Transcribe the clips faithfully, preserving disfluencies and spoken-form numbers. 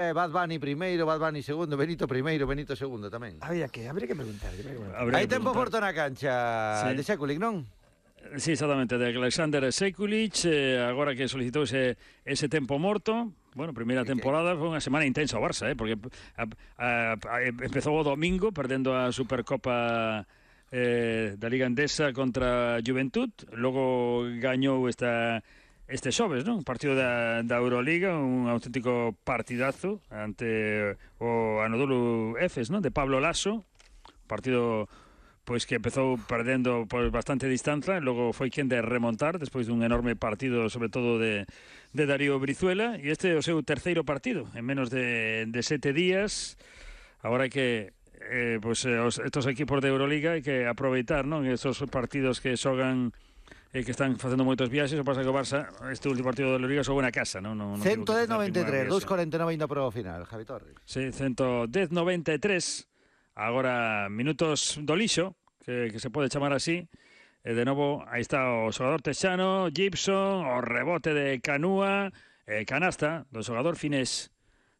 Eh, Bad Bunny primeiro, Bad Bunny segundo, Benito primeiro, Benito segundo tamén. Habría que, habría que preguntar. Habría que preguntar. Hai tempo forte na cancha sí. de Sekulic, non? Sí, exactamente, de Alexander Sekulic, eh, agora que solicitou ese, ese tempo morto. Bueno, primeira temporada foi unha semana intensa o Barça, eh, porque a, a, a, empezou o domingo perdendo a Supercopa eh, da Liga Endesa contra Juventud, logo gañou esta este xoves, non? Un partido da, da Euroliga, un auténtico partidazo ante o Anadolu Efes, non? De Pablo Laso, partido pois que empezou perdendo por bastante distancia, logo foi quen de remontar despois dun enorme partido, sobre todo de, de Darío Brizuela, e este é o seu terceiro partido en menos de, de sete días. Agora hai que eh, pois, os, estos equipos de Euroliga hai que aproveitar, non? Estos partidos que xogan eh, que están facendo moitos viaxes. O pasa que o Barça este último partido da Euroliga xogou na casa, non? non, non ciento dez noventa e tres, dous cuarenta e nove ainda para o final, Javi Torres. Sí, ciento dez noventa e tres. Agora minutos do lixo, que, que se pode chamar así. E de novo, aí está o xogador texano, Gibson, o rebote de Canúa, e canasta do xogador finés.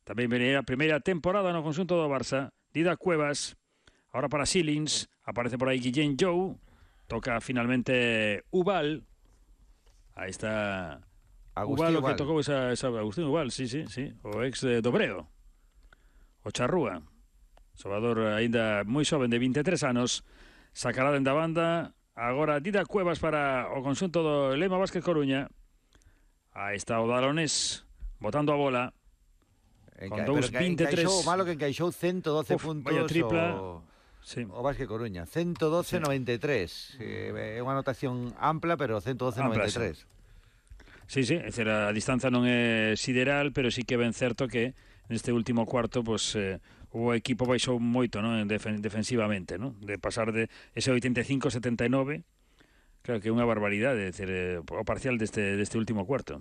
Tamén venía a primeira temporada no conxunto do Barça. Dida Cuevas, ahora para Silins, aparece por aí Guillén Jou, toca finalmente Ubal. Aí está Agustín Ubal, o que tocou esa, esa Agustín Ubal, sí, sí, sí, o ex de Dobreo, o Charrúa, xogador aínda moi xoven de vinte e tres anos, sacará dende a banda. Agora Dida Cuevas para o conxunto do Lema Vázquez Coruña. Aí está o Dalonés botando a bola. Con dous vinte e tres. Encaixou, malo que encaixou ciento doce Uf, puntos. Vaya tripla. O, sí. o Vázquez Coruña. ciento doce noventa e tres. Sí. É unha anotación ampla, pero ciento doce noventa e tres. Sí, sí, é dicir, a distancia non é sideral, pero sí que ben certo que neste último cuarto, pues, eh, o equipo baixou moito, non? Defen defensivamente, non? De pasar de ese oitenta e cinco a setenta e nove, claro que é unha barbaridade, é dicir, eh, o parcial deste, deste último cuarto.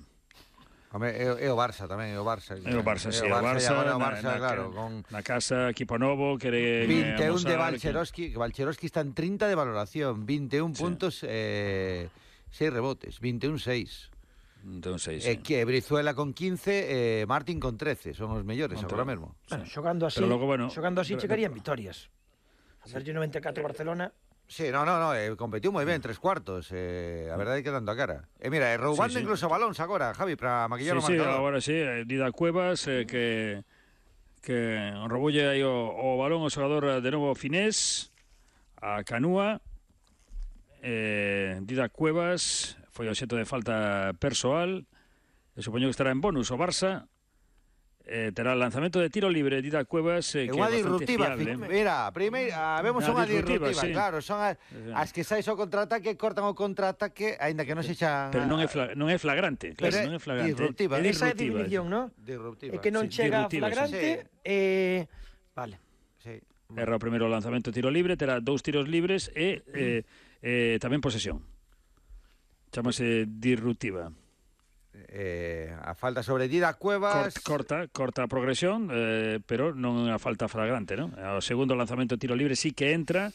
Home, é, é o Barça tamén, é o Barça. É o Barça, sí, o Barça, Barça, o Barça, na, claro, na, con na casa, equipo novo, quere vinte e un de Valcherovski, que Valcherovski está en treinta de valoración, vinte e un sí. puntos, eh, seis rebotes, vinte e un seis. vinte e un seis, eh, sí. Que Brizuela con quince, eh, Martín con trece, son os mellores agora mesmo. Bueno, xogando así, logo, bueno, xogando así chegarían vitorias. Facerlle noventa e catro Barcelona. Sí, no, no, no, eh, competiu moi ben, tres cuartos, eh, a verdade é que dando a cara. E eh, mira, eh, roubando sí, sí. incluso balóns agora, Javi, para maquillar sí, o marcador. Sí, agora sí, eh, Dida Cuevas, eh, que que roubolle aí o, o balón o xogador de novo finés, a Canúa, eh, Dida Cuevas, foi obxecto de falta persoal, e supoño que estará en bonus o Barça. Eh, terá el lanzamento de tiro libre Dida Cuevas, eh, que unha disruptiva, mira, primeira, vemos unha disruptiva, sí. Claro, son as, as que sais o contraataque, cortan o contraataque, aínda que non se xa... Pero non é, fla, non é flagrante, claro, non é flagrante. Disruptiva, é esa definición, non? Disruptiva. É que non sí, chega flagrante, sí. eh, vale. Sí. Erra o primeiro lanzamento de tiro libre, terá dous tiros libres e eh, eh, tamén posesión. Chámase disruptiva. Eh, a falta sobre Dida Cuevas, corta, corta a progresión, eh, pero non a falta flagrante, non? O segundo lanzamento de tiro libre sí que entra,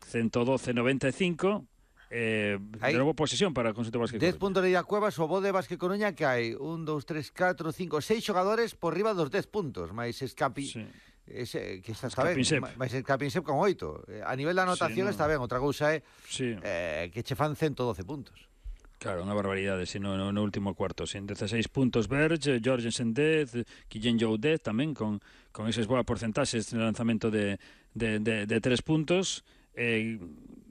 ciento doce noventa e cinco, eh, de novo posesión para o conxunto Vázquez Coruña. dez puntos de Dida Cuevas, o bo de Vázquez Coruña que hai un, dous, tres, catro, cinco, seis xogadores por riba dos dez puntos, máis Escapi, sí. ese, que está, está ben, máis Escapinsep con oito. A nivel da anotación sí, no. está ben, outra cousa é sí. eh, que che fan ciento doce puntos. Claro, unha barbaridade, si no, no, no último cuarto, sin dezasseis puntos Berge, Jorgensen dez, Guillén Jou dez tamén, con, con eses boas porcentaxes de lanzamento de, de, de, de tres puntos, eh,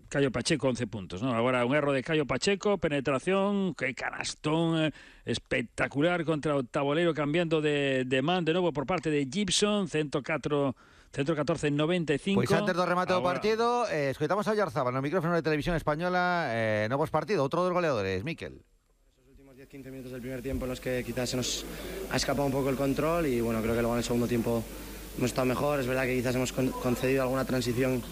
Caio Pacheco once puntos, ¿no? Agora un erro de Caio Pacheco, penetración, que canastón eh, espectacular contra o tabolero, cambiando de, de man de novo por parte de Gibson, ciento catro ciento catorce noventa e cinco. Pois antes do remate do partido, eh, escoitamos a Oyarzabal no micrófono de Televisión Española, eh, novos partido, outro dos goleadores, Miquel. Esos últimos diez quince minutos del primer tiempo en los que quizás se nos ha escapado un poco el control y bueno, creo que luego en el segundo tiempo hemos estado mejor. Es verdad que quizás hemos concedido alguna transición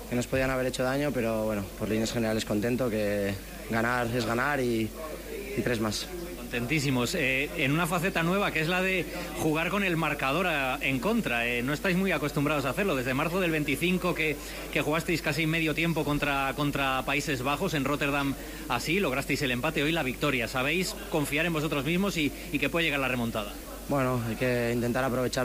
que nos podían haber hecho daño, pero bueno, por líneas generales contento, que ganar es ganar y, y tres más. Contentísimos, eh, en una faceta nueva que es la de jugar con el marcador a, en contra, eh, no estáis muy acostumbrados a hacerlo, desde marzo del veinticinco que, que jugasteis casi medio tiempo contra, contra Países Bajos en Rotterdam, así lograsteis el empate, hoy la victoria, ¿sabéis confiar en vosotros mismos y, y que puede llegar la remontada? Bueno, hay que intentar aprovechar los